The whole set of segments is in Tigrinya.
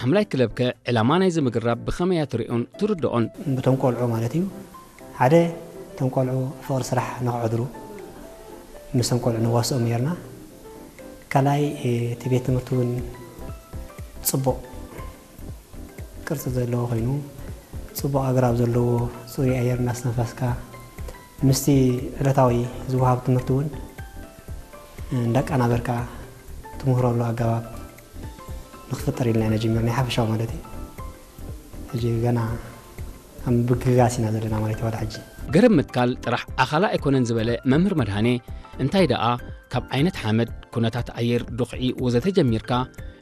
ሓምላይ ክለብከ ዕላማ ናይዚ ምግራብ ብኸመይ እያ ትሪኦን ትርድኦን? ብቶም ቆልዑ ማለት እዩ። ሓደ፣ እቶም ቆልዑ ፍቕሪ ስራሕ ንኽዕድሩ ምስቶም ቆልዑ ነዋስኦም ነይርና። ካልኣይ፣ እቲ ቤት ትምህርቲ እውን ጽቡቕ ቅርጺ ዘለዎ ኮይኑ፣ ጽቡቕ ኣግራብ ዘለዎ፣ ጽሩይ ኣየር እናስተንፈስካ፣ ምስቲ ዕለታዊ ዝወሃብ ትምህርቲ እውን እንዳቀናበርካ ትምህረሉ ኣገባብ ንክፍጠር ኢልና ኢና ጀሚርና፣ ሓፈሻዊ ማለት እዩ። ሕጂ ገና ኣብ ምግጋስ ኢና ዘለና ማለት እዩ። ዋላ ሕጂ ገረብ ምትካል ጥራሕ ኣኻላ ኣይኮነን ዝበለ መምህር መድሃኔ፣ እንታይ ደኣ ካብ ዓይነት ሓመድ፣ ኩነታት ኣየር፣ ዱኽዒ ወዘተ ጀሚርካ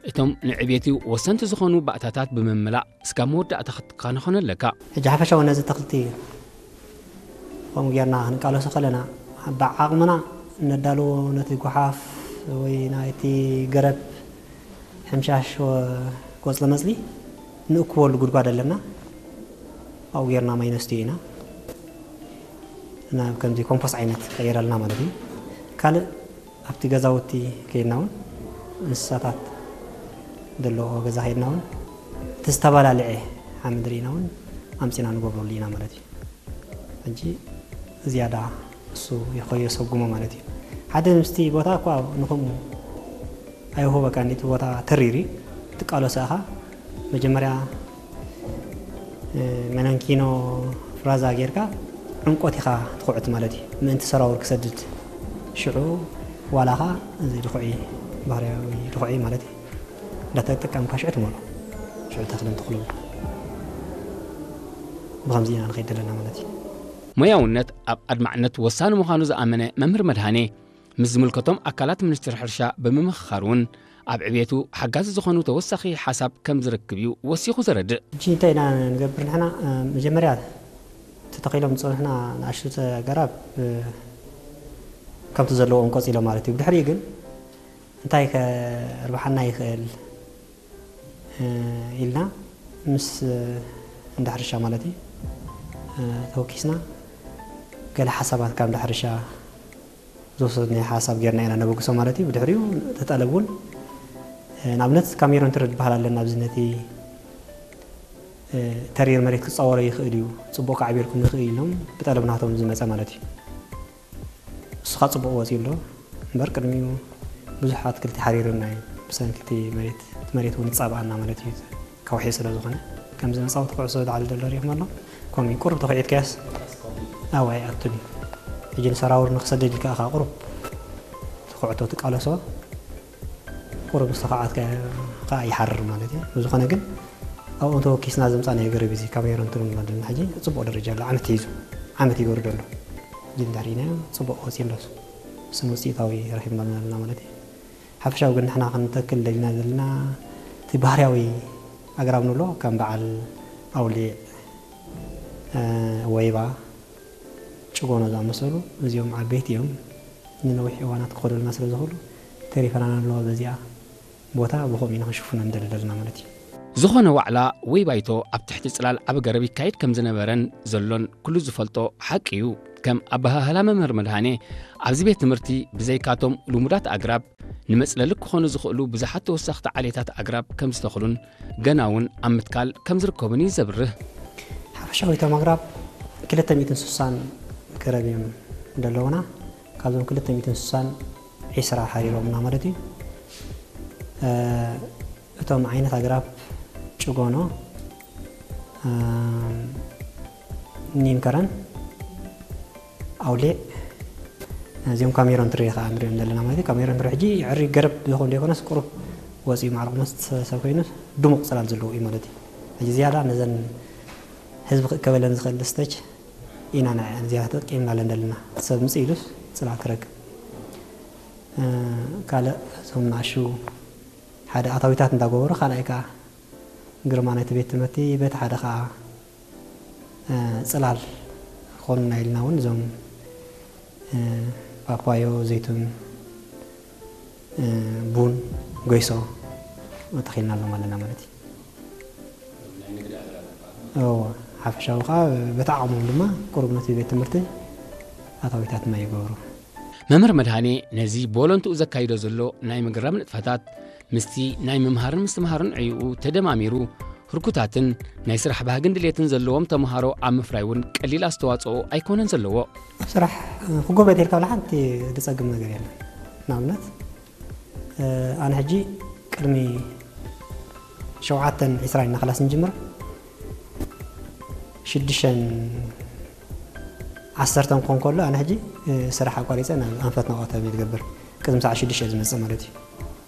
እቶም ንዕቤቱ ወሰንቲ ዝኾኑ ባእታታት ብምምላእ ስጋብ መወዳእታ ክትከናኸኖ ኣለካ። ሕጂ ሓፈሻዊ ነዚ ተኽልቲ ከምኡ ጌርና ክንቃለሶ ከለና፣ ብዓቕምና ነዳልዎ ነቲ ጓሓፍ ወይ ናይቲ ገረብ ሕምሻሽ ወ-፣ ቆጽሊ መጽሊ ንእክበሉ ጉድጓድ ኣለና። ኣብኡ ጌርና ማይ ነስትዮ ኢና። ናብ ከምዚ ኮምፖስት ዓይነት ቀይረልና ማለት እዩ። ካልእ ኣብቲ ገዛውቲ ከይድና እውን፣ እንስሳታት ዘለዎ ገዛ ከይድና እውን፣ እቲ ዝተባላልዐ ሓመድ ርኢና እውን ኣምጺና ንገብረሉ ኢና ማለት እዩ። ሕጂ ዝያዳ እሱ ይኸዮ ሰጉሞ ማለት እዩ። ሓደ ምስቲ ቦታ እኳ ንኸምኡ ኣይውህበካን፣ እቲ ቦታ ተሪር እዩ። ትቃለሶ ኢኻ። መጀመርያ፣ እ፣ መነንኪኖ ፍራዛ ጌርካ ዕንቆት ኢኻ ትኹዕት ማለት እዩ። ምእንቲ ሰራውር ክሰድድ። ሽዑ ዋላኻ እዚ ድኹዒ፣ ባህርያዊ ድኹዒ ማለት እዩ። እንዳተጠቀምካ ሽዑ ትመልኦ። ሽዑ ተኽሊ እንትኽሉ። ብኸምዚ ኢና ንኸይድ ዘለና ማለት እዩ። ሞያውነት ኣብ ኣድማዕነት ወሳኒ ምዃኑ ዝኣመነ መምህር መድሃኔ፣ ምስ ዝምልከቶም ኣካላት ሚኒስትሪ ሕርሻ ብምምኽኻር እውን ኣብ ዕቤቱ ሓጋዚ ዝኾኑ ተወሳኺ ሓሳብ ከም ዝረክብ እዩ ወሲኹ ዘረድእ። ሕጂ እንታይ ኢና ንገብር ንሕና? እ፣ መጀመርያ ተተኺሎም ዝጸንሑና ንኣሽቱ ኣግራብ፣ እ፣ ከምቲ ዘለዎም ቀጺሎም ማለት እዩ። ብድሕሪኡ ግን እንታይ ከርብሓና ይኽእል፣ እ፣ ኢልና ምስ፣ እ፣ እንዳ ሕርሻ ማለት እዩ፣ እ፣ ተወኪስና ገለ ሓሳባት ካብ እንዳ ሕርሻ ዝወሰድናዮ ሓሳብ ጌርና ኢና ነበግሶ ማለት እዩ። ብድሕሪኡ እቲ ጠለብ እውን፣ እ፣ ንኣብነት ካሜሮን ትሪ ዝበሃል ኣለና። ኣብዚ ነቲ፣ እ፣ ተሪር መሬት ክጻወሮ ይኽእል እዩ፣ ጽቡቕ ከዕብየልኩም ይኽእል ኢሎም ብጠለብ ናቶም ዝመጸ ማለት እዩ። እሱ ኸኣ ጽቡቕ ወጺኡ ኣሎ። እምበር ቅድሚኡ ብዙሕ ኣትክልቲ ሓሪሩና እዩ። ብሰንኪ እቲ መሬት፣ እቲ መሬት እውን ይጻብኣና ማለት እዩ። ከውሒ ስለ ዝኾነ፣ ከምዚ መጻወቲ ኩዕሶ ዝዓሊ ዘሎ ርኢኹም ኣሎ። ከምኡ እዩ፣ ቁሩብ ተኹዒትካያስ ኣብኡ ኣይኣቱን እዩ። ሕጂ ንሰራውር ንኽሰድድ ኢልካ ኢኻ ቁሩብ ትኹዕቶ ትቃለሶ፣ ቁሩብ ምስ ተኹዓትካ ከኣ ይሓርር ማለት እዩ። ብዝኾነ ግን ኣብኡ ተወኪስና ዘምጻእናዮ ገረብ እዚ ካሜሮን ትሪ ንብሎ ዘለና ሕጂ ጽቡቕ ደረጃ ኣሎ። ዓመት ሒዙ፣ ዓመት ይገብር ዘሎ። ሕጂ እንድሕር ርኢናዮ ጽቡቕ ወጺኡ ኣሎ። እሱ ውጽኢታዊ ረኺብናሉ ኣለና ማለት እዩ። ሓፈሻዊ ግን ንሕና ክንተክል ደሊና ዘለና እቲ ባህርያዊ ኣግራብ ንብሎ ከም በዓል ኣውሊዕ፣ እ፣ ወይባ፣ ጭጎኖ ዝኣመሰሉ እዚኦም ዓበይቲ እዮም። ንነዊሕ እዋናት ክኸዱልና ስለ ዝኽእሉ ተሪፈና ንለዎ በዚኣ ቦታ ብኸምኡ ኢና ክንሽፍኖ ንደሊ ዘለና ማለት እዩ። ዝኾነ ዋዕላ ወይ ባይቶ ኣብ ትሕቲ ጽላል ዓቢ ገረብ ይካየድ ከም ዝነበረን ዘሎን ኩሉ ዝፈልጦ ሓቂ እዩ። ከም ኣበሃህላ መምህር መድሃኔ፣ ኣብዚ ቤት ትምህርቲ ብዘይካቶም ልሙዳት ኣግራብ፣ ንመጽለሊ ክኾኑ ዝኽእሉ ብዙሓት ተወሰኽቲ ዓሌታት ኣግራብ ከም ዝተኽሉን ገና እውን ኣብ ምትካል ከም ዝርከቡን እዩ ዘብርህ። ሓፈሻዊ እቶም ኣግራብ ክልተ ሚእትን ስሳን ገረብ እዮም ዘለውና። ካብዞም ክልተ ሚእትን ስሳን ዒስራ ሓሪሮምና ማለት እዩ። እ፣ እቶም ዓይነት ኣግራብ ጭጎኖ፣ እ፣ ኒም ከረን፣ ኣውሊዕ፣ እዚኦም ካሜሮን ትሪ ኸዓ ንሪኦም ዘለና ማለት እዩ። ካሜሮን ትሪ ሕጂ ዕሪ ገረብ ዝኾን ዘይኮነስ ቁሩብ ወፂኡ ማዕረ ቁመት ሰብ ኮይኑ ድሙቕ ፅላል ዘለዎ እዩ ማለት እዩ። ሕጂ ዝያዳ ነዘን ህዝቢ ክእከበለን ዝኽእል ስቴጅ ኢና ንዐን ዝያዳ ተጠቂምናለን ዘለና። ሰብ ምፅእ ኢሉስ ፅላል ክረክብ። እ፣ ካልእ እዞም ንኣሽቱ ሓደ ኣታዊታት እንዳገበሩ፣ ካልኣይ ከዓ ግርማ ናይቲ ቤት ትምህርቲ፣ በቲ ሓደ ከዓ፣ እ፣ ጽላል ክኾኑና ኢልና እውን እዞም፣ እ፣ ፓፓዮ፣ ዘይቱን፣ እ፣ ቡን፣ ጎይሶ ተኺልና ኣለና ማለት እዩ። እዎ፣ ሓፈሻዊ ከዓ በቲ ዓቕሞም ድማ ቁሩብ ነቲ ቤት ትምህርቲ ኣታዊታት ማይ ይገብሩ። መምህር መድሃኔ ነዚ ብወለንትኡ ዘካይዶ ዘሎ ናይ ምግራም ንጥፈታት ምስቲ ናይ ምምሃርን ምስትምሃርን ዕይኡ ተደማሚሩ፣ ህርኩታትን ናይ ስራሕ ባህግን ድሌትን ዘለዎም ተምሃሮ ኣብ ምፍራይ እውን ቀሊል ኣስተዋጽኦ ኣይኮነን ዘለዎ። ኣብ ስራሕ ክጎበጥ ኢልካ ብላ ሓንቲ ዝጸግም ነገር የለን። ንኣብነት ኣነ ሕጂ ቅድሚ ሸውዓተን ዕስራን ኢና ክላስ ንጅምር። ሽዱሽተን ዓሰርተን ክኾን ከሎ ኣነ ሕጂ ስራሕ ኣቋሪፀ ናብ ኣንፈት ናውኣተም እየ ዝገብር። ቅድሚ ሰዓት ሽዱሽተ ዝመፅእ ማለት እዩ።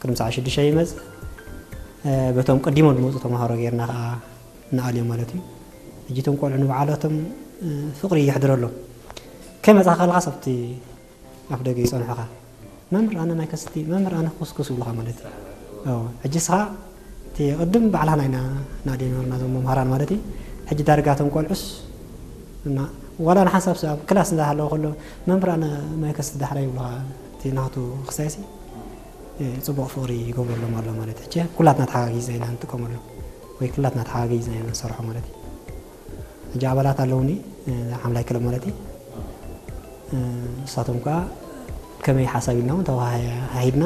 ቅድሚ ሰዓት ሽዱሽተ ይመፅእ። በቶም ቀዲሞም ዝመፁ ተምሃሮ ጌርና ከዓ ንኣልዮም ማለት እዩ። ሕጂ እቶም ቆልዑ ንባዕላቶም ፍቕሪ የሕድረሎም። ከይመፅኻ ከለኻስ ኣብቲ ኣፍ ደገ ይፀንሑኻ። መምህር ኣነ ማይ ከስቲ፣ መምህር ኣነ ኩስኩስ ይብሉኻ ማለት እዩ። ሕጂ ስኻ እቲ ቅድም ባዕላና ኢና ናዲ ነበርና ዞም መምሃራን ማለት እዩ። ሕጂ ዳርጋ እቶም ቆልዑስ እና ዋላ ንሓንሳብ ኣብ ክላስ እንዳሃለወ ከሎ መምህር ኣነ ማይ ከስቲ ዳሕራይ ይብሉኻ። እቲ ናቱ ክሳይሲ ፅቡቕ ፍቕሪ ይገብረሎም ኣሎ ማለት እዩ። ኩላትና ተሓጋጊዝና ኢና ንጥቀመሉ ወይ ኩላትና ተሓጋጊዝና ኢና ንሰርሖ ማለት እዩ። ሕጂ ኣባላት ኣለውኒ ሓምላይ ክለብ ማለት እዩ። ንሳቶም ከዓ ከመይ ሓሳብ ኢልና እውን ተዋሃሂድና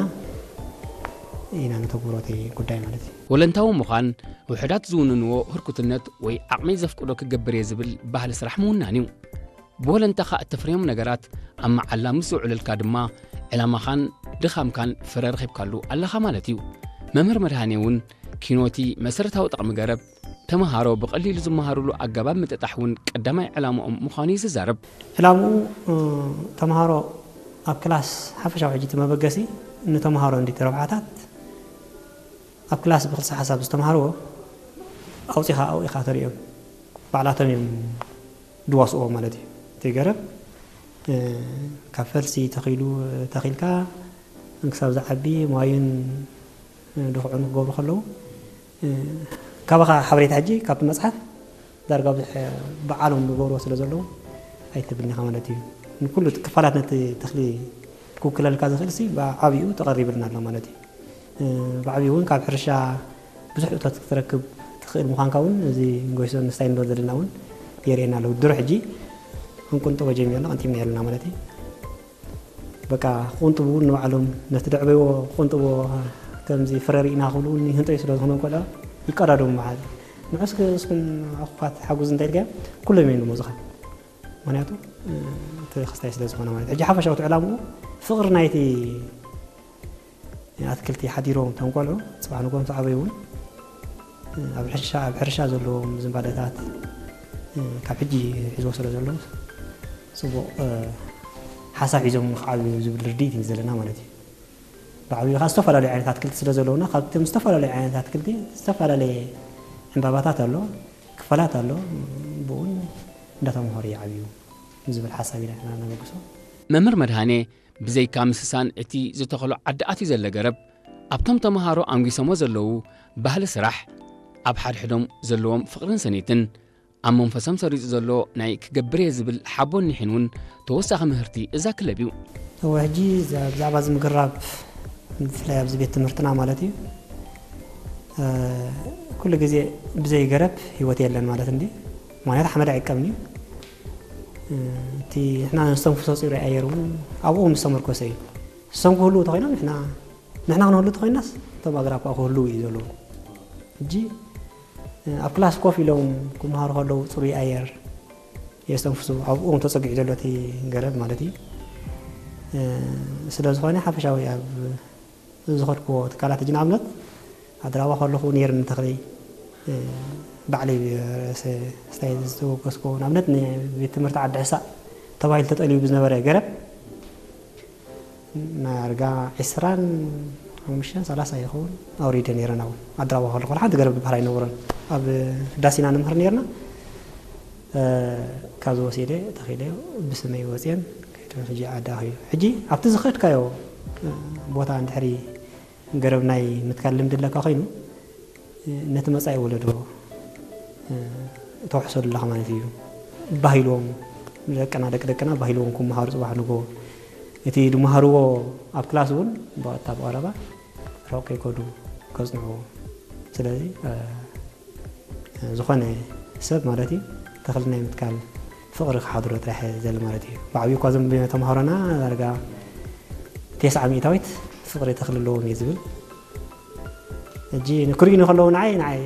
ኢና ንተግብሮ እቲ ጉዳይ ማለት እዩ። ወለንታዊ ምዃን ውሕዳት ዝውንንዎ ህርኩትነት ወይ ዓቕመይ ዘፍቅዶ ክገብር እየ ዝብል ባህሊ ስራሕ ምውናን እዩ። ብወለንታኻ እተፍርዮም ነገራት ኣብ መዓላ ምስ ዝውዕለልካ ድማ ዕላማኻን ድኻምካን ፍረ ረኺብካሉ ኣለኻ ማለት እዩ። መምህር መድሃኔ እውን ኪኖቲ መሰረታዊ ጥቕሚ ገረብ ተምሃሮ ብቐሊሉ ዝመሃሩሉ ኣገባብ ምጥጣሕ እውን ቀዳማይ ዕላምኦም ምዃኑ እዩ ዝዛረብ። ዕላምኡ ተምሃሮ ኣብ ክላስ ሓፈሻዊ ሕጂ እቲ መበገሲ ንተምሃሮ እንዲ ረብሓታት ኣብ ክላስ ብክልሲ ሓሳብ ዝተምሃርዎ ኣውፂኻ ኣብኡ ኢኻ ተሪኦም ባዕላቶም እዮም ድዋስዎ ማለት እዩ። እቲ ገረብ ካብ ፈልሲ ተኺሉ ተኺልካ ክሳብ ዝዓቢ ማዩን ድኹዑን ክገብሩ ከለዉ ካባኻ ሓበሬታ ሕጂ ካብቲ መፅሓፍ ዳርጋ ብዙሕ በዓሎም ዝገብርዎ ስለ ዘለዉ ኣይትብልኒኻ ማለት እዩ። ንኩሉ ክፋላት ነቲ ተኽሊ ክውክለልካ ዝኽእል ሲ ብዓብኡ ተቐሪብልና ኣሎ ማለት እዩ። ብዓብኡ እውን ካብ ሕርሻ ብዙሕ እቶት ክትረክብ ትኽእል ምዃንካ እውን እዚ ጎይሶ ንስታይ ንበር ዘለና እውን የርእየና ኣለዉ። ድሮ ሕጂ ክንቁንጥቦ ጀሚርና ቀንጢብና ኣለና ማለት እዩ። በቃ ክቁንጥቡ እውን ንባዕሎም ነቲ ደዕበይዎ ክቁንጥቦ ከምዚ ፍረ ርኢና ክብሉ እውን ይህንጠዩ ስለ ዝኾነ ቆልዑ ይቀዳደሙ መዓል ንዑስ እስኩም ኣኹፋት ሓጉዝ እንታይ ኢልካ ኩሎም እዮም ዝመፁኻ። ምክንያቱ እቲ ክስታይ ስለ ዝኾነ ማለት ሕጂ ሓፈሻዊ ዕላምኡ ፍቕሪ ናይቲ ኣትክልቲ ሓዲሮም እቶም ቆልዑ ፅባሕ ንጎም ተዓበዩ እውን ኣብ ሕርሻ ኣብ ሕርሻ ዘለዎም ዝንባለታት ካብ ሕጂ ሒዝዎ ስለ ዘለዉ ፅቡቕ ሓሳብ ሒዞም ክዓብዩ ዝብል ርድኢት እዩ ዘለና ማለት እዩ። ብዓብዩ ከዓ ዝተፈላለዩ ዓይነት ኣትክልቲ ስለ ዘለውና ካብቶም ዝተፈላለዩ ዓይነት ኣትክልቲ ዝተፈላለየ ዕምባባታት ኣሎ፣ ክፋላት ኣሎ፣ ብኡን እንዳተምሃሩ ይዓብዩ ዝብል ሓሳብ ኢና ንሕና ነበግሶ። መምህር መድሃኔ ብዘይካ ምስሳን እቲ ዝተኸሎ ዓዲ ኣትዩ ዘለ ገረብ ኣብቶም ተምሃሮ ኣንጒሶሞ ዘለዉ ባህሊ ስራሕ ኣብ ሓድሕዶም ዘለዎም ፍቕርን ሰኒትን ኣብ መንፈሶም ሰሪጹ ዘሎ ናይ ክገብር እየ ዝብል ሓቦን ኒሕን እውን ተወሳኺ ምህርቲ እዛ ክለብ እዩ። እወ ሕጂ ብዛዕባ እዚ ምግራብ ብፍላይ ኣብዚ ቤት ትምህርትና ማለት እዩ ኩሉ ግዜ ብዘይ ገረብ ህይወት የለን ማለት እንዲ ምክንያቱ ሓመድ ኣይቀምን እዩ እቲ ንሕና ነስተንፍሶ ፅሩይ ኣየር እውን ኣብኡ ምስ ተመርኮሰ እዩ እሶም ክህልው ተኮይኖም ንሕና ንሕና ክንህሉ ተኮይናስ እቶም ኣግራብ ከዓ ክህልው እዩ ዘለዎም ሕጂ ኣብ ክላስ ኮፍ ኢሎም ክምሃሩ ከለዉ ፅሩይ ኣየር የስተንፍሱ ኣብኡ ተፀጊዑ ዘሎ እቲ ገረብ ማለት እዩ ስለ ዝኾነ ሓፈሻዊ ኣብ ዝኸድክዎ ትካላት ሕጂ ንኣብነት ኣድራባ ከለኹ ነይርኒ ተኽሊ ባዕለይ ርእሰ ስታይ ዝተወገስክዎ ንኣብነት ንቤት ትምህርቲ ዓዲ ሕሳእ ተባሂሉ ተጠልዩ ብዝነበረ ገረብ ናርጋ ዕስራን ሓሙሽተን ሰላሳ ይኸውን ኣውሪደ ነይረ ናብኡ ኣድራባ ከለኹ ሓንቲ ገረብ ዝበሃል ኣይነበሮን ኣብ ህዳሴና ንምህር ነይርና ካብዚ ወሲደ ተኺለ ብስመይ ወፅየን ከይደ ሕጂ ዓዲ ኣኽዩ ሕጂ ኣብቲ ዝኸድካዮ ቦታ እንድሕሪ ገረብ ናይ ምትካል ልምዲ ኣለካ ኮይኑ ነቲ መጻኢ ወለዶ ተውሕሰሉ ኣለኻ ማለት እዩ። ባህ ኢልዎም ደቅና ደቂ ደቅና ባህ ኢልዎም ክመሃሩ ጽባሕ ንግሆ እቲ ዝመሃርዎ ኣብ ክላስ እውን ብቐጥታ ብቐረባ ርሑቕ ከይከዱ ከጽንዕዎ። ስለዚ ዝኾነ ሰብ ማለት እዩ ተኽሊ ናይ ምትካል ፍቕሪ ክሓድሮ ጥራሕ ዘል ማለት እዩ። ብዓብዩ እኳ እዞም ተምሃሮና ዳርጋ ቴስዓ ሚእታዊት ፍቕሪ ተኽሊ ኣለዎም እየ ዝብል። ክሪኡኒ ከለዉ ንዓይ ንዓይ